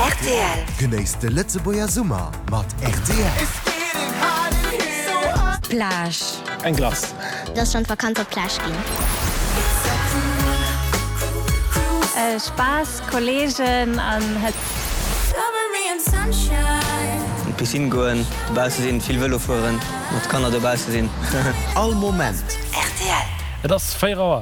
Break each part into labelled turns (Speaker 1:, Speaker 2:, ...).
Speaker 1: Rtl. Genéisst de Lëtzebuerger Summer mat rtl.
Speaker 2: Plage.
Speaker 3: Eng Glace.
Speaker 4: Et ass schonn d'Vakanz op d'Plage ginn.
Speaker 2: Spaass, Kolleegen an Hëtzt.
Speaker 5: An d'Piscine goen, dobausse sinn, vill Vëlo fueren, mat Kanner dobausse sinn.
Speaker 1: All Moment.
Speaker 2: Rtl.
Speaker 6: Et ass 4 Auer.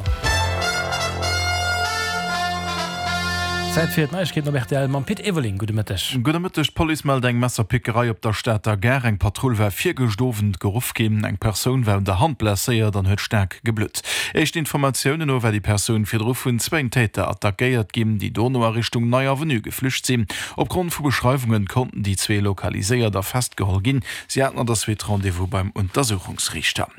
Speaker 6: Zäit fir d'Neiegkeeten op rtl mam Pit Everling. Gudde Mëtteg.
Speaker 7: Gudde Mëtteg. D'Police mellt eng Messerpickerei op der Stater Gare. Eng Patrull war virgëscht Owend geruff ginn. Eng Persoun war un der Hand blesséiert an huet staark geblutt. Éischten Informatiounen no war déi Persoun virdru vun zwéin Täter attackéiert ginn, déi dono a Richtung Nei Avenue geflücht sinn. Opgrond vu Beschreiwungen konnten déi zwee lokaliséiert a festgeholl ginn. Si haten an der Suite Rendez-vous beim Untersuchungsriichter.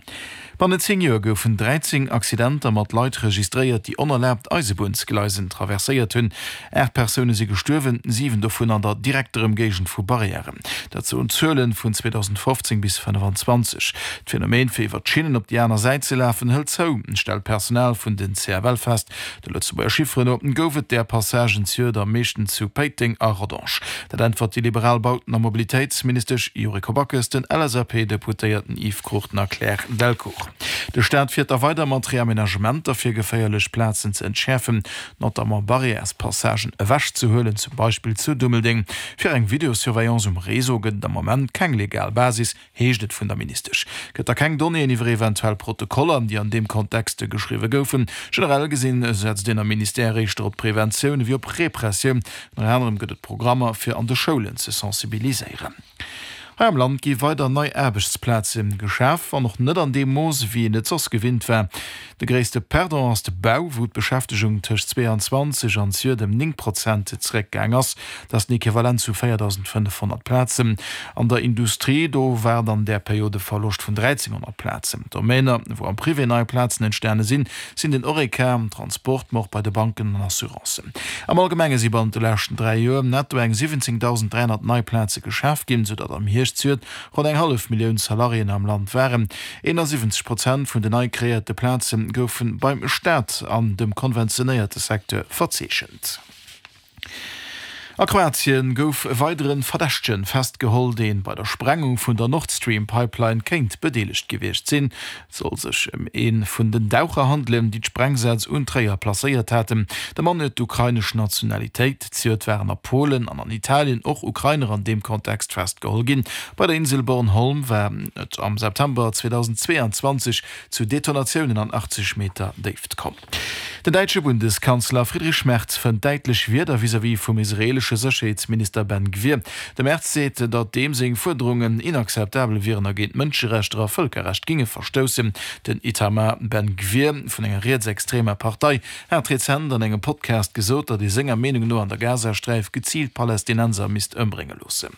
Speaker 7: Bannent 10 Joer goufen 13 Accidenter mat Leit registréiert, déi onerlaabt Eisebunnsgleisen traverséiert hunn. 8 Persoune si gestuerwen, 7 dovun an der direkter Ëmgéigend vu Barrièren. Dat soen d'Zuele vun 2015 bis 25. D'Phänomen, fir iwwer d'Schinnen op déi aner Säit ze lafen, hëlt zou, stellt d'Personal vun den CFL fest. De Lëtzebuerger Chifferen no gouf et där Passagen zejoert am meeschten zu Péiteng a Rodange. Dat äntwert déi liberal Bauten a Mobilitéitsministesch Yuriko Backes den LSAP-Deputéierten Yves Cruchten a Claire Delcourt. De Staat fiert da weider mat Reamenagementer fir geféierlech Plazen ze entschäerfen, notamment Barrièrespassagen ewechzehuelen, zum Beispill zu Dummeldeng. Fir eng Videosurveillance um Réseau gëtt et am Moment keng legal Basis, heescht et vun der Ministesch. Gëtt da keng Donnéeën iwwer eventuell Protokoller, déi an deem Kontexte geschriwwe goufen. Generell gesinn, setzt een am Ministère éischter op Preventioun ewéi op Repressioun. Ënner anerem gëtt et Programmer, fir an de Schoulen ze sensibiliséieren. Hei am Land gi weider nei Aarbechtsplaze geschaf, wann och net an deem Mooss, ewéi een et soss gewinnt war. De gréisste Perdant ass de Bau, wou d'Beschäftegung tëscht 22 an zejoert ëm 9 Prozent zeréckgaang ass. Dat ass den Equivalent zu 4.500 Plazen. An der Industrie, do war et an där Period e Verloscht vun 1.300 Plazen. Domainer, wou am Privé nei Plazen entstane sinn, sinn den Horeca, am Transport, ma och bei de Banken an Assurancen. Am Allgemenge si bannent de leschten 3 Joer netto eng 17.300 nei Plaze geschaf ginn, soudatt am Hierscht zejoert ronn eng hallef Millioun Salariéen am Land waren. 71 Prozent vun den nei kreéierte Plaze goufe beim Staat an dem konventionéierte Secteur verzeechent. A Kroatien gouf e weidere Verdächtege festgeholl, dee bei der Sprengung vun der Nord Stream Pipeline kéint bedeelegt gewiescht sinn. Et soll sech ëm ee vun den Daucher handelen, déi d'Sprengsätz un d'Réier placéiert haten. De Mann huet d'ukrainesch Nationalitéit. Zejoert waren a Polen an an Italien och Ukrainer an deem Kontext festgeholl ginn. Bei der Insel Bornholm war et am September 2022 zu Detonatiounen an 80 Meter Déift komm. Den däitsche Bundeskanzler Friedrich Merz fënnt däitlech Wierder vis-à-vis vum israeelesche Sécherheetsminister Ben Gvir. De Merz seet, datt deem seng Fuerderungen inakzeptabel wieren a géint Mënscherechter a Vëlkerrecht ginge verstoussen. Den Itamar Ben Gvir vun enger rietsextremer Partei hat rezent an engem Podcast gesot, datt ee senger Meenung no an der Gazasträif geziilt Palästinenser misst ëmbrénge loossen.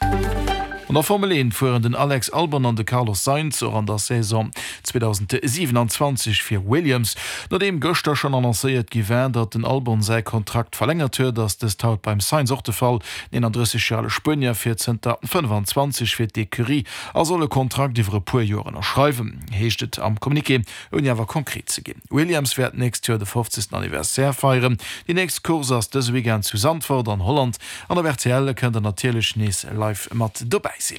Speaker 7: An der Formel 1 fueren den Alex Albon an de Carlos Sainz och an der Saison 2027 fir Williams. Nodeem gëschter schonn annoncéiert gi war, datt den Albon säi Kontrakt verlängert huet, ass dëst haut beim Sainz och de Fall. Den 31 Joer ale Spuenier fiert zënter 25 fir d'Ecurie a soll e Kontrakt iwwer e puer Joer ënnerschreiwen, heescht et am Communiqué, ouni awer konkret ze ginn. Williams wäert d'nächst Joer de 50. Anniversaire feieren. Déi nächst Course ass dëse Weekend zu Zandvoort an Holland. An op rtl kënnt der natierlech nees live mat dobäi sinn.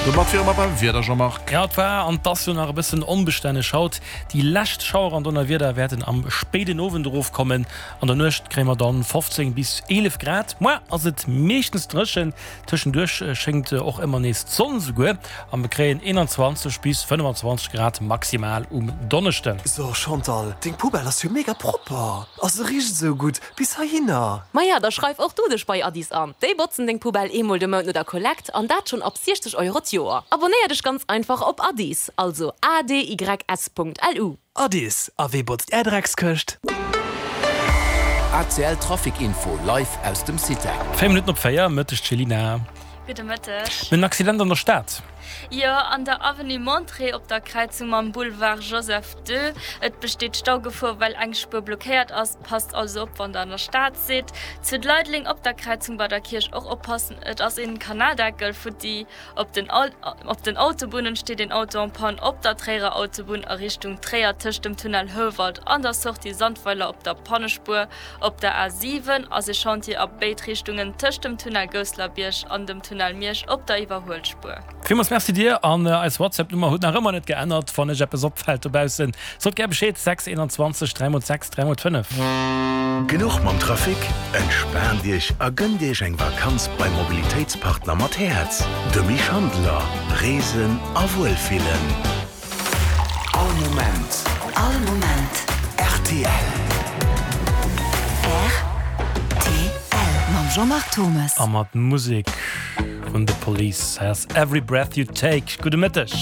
Speaker 7: Domat wiere mer beim Wieder, Jean-Marc.
Speaker 6: Jo, et war an et ass jo nach e bëssen onbestänneg haut. Déi lescht Schauer an Donnerwieder wäerten am spéiden Owend erofkommen. An der Nuecht kréie mer dann 15 bis 11 Grad. Moar ass et meeschtens dréchen, tëschenduerch schéngt och ëmmer nees d'Sonn esouguer a mer kréien 21 bis 25 Grad maximal um Donneschden.
Speaker 1: So Chantal, deng Poubelle ass jo mega propper a se richt esou gutt bis heihinner.
Speaker 8: Maja, da schreif och du dech bei Addis an. Déi botzen deng Poubelle eemol de Mount no der Kollekt an dat schonn ab 60 Euro d'Joer. Abonnéier dech ganz einfach op Addis, also adys.lu.
Speaker 1: Addis, a wee botzt är Dreckskëscht?
Speaker 9: ACL Trafic Info live aus dem Citec.
Speaker 6: 4 Minutten op 4, Mëtteg Céline.
Speaker 2: Gudde Mëtteg.
Speaker 6: En Accident an der Stad.
Speaker 3: Jo, an der Avenue Monterey op der Kräizung mam Boulevard Joseph I. Et besteet Staugefor, well eng Spuer blockéiert ass. Passt also op, wann der an der Stad sidd. Zu Leideleng op der Kräizung bei der Kierch och oppassen, et ass een Kanaldeckel futti. Op den op den Autobunnen steet een Auto en panne op der Tréierer Autobunn a Richtung Tréier tëscht dem Tunnel Houwald an der Sortie Sandweiler op der Pannespuer. Op der A 7 ass e Chantier a béid Richtungen tëscht dem Tunnel Gousselerbierg an dem Tunnel Miersch op der Iwwerhuelspuer.
Speaker 6: Villmools Merci dir an eis WhatsApp Nummer huet nach ëmmer net geännert. Wann iech eppes opfällt dobaussen, sot gär Bescheed, 6 21 3 x 6 3 x 5.
Speaker 9: Genuch mam Trafic? Entspaant Iech a gënnt Iech eng Vakanz beim Mobilitéitspartner mat Häerz, de Mich Handler. Reesen a Wuelfillen.
Speaker 1: All Moment.
Speaker 10: All Moment.
Speaker 1: Rtl.
Speaker 10: Rtl mam Jean-Marc Thommes.
Speaker 6: A mat Musek vun The Police. Hei ass Every Breath You Take. Gudde Mëtteg.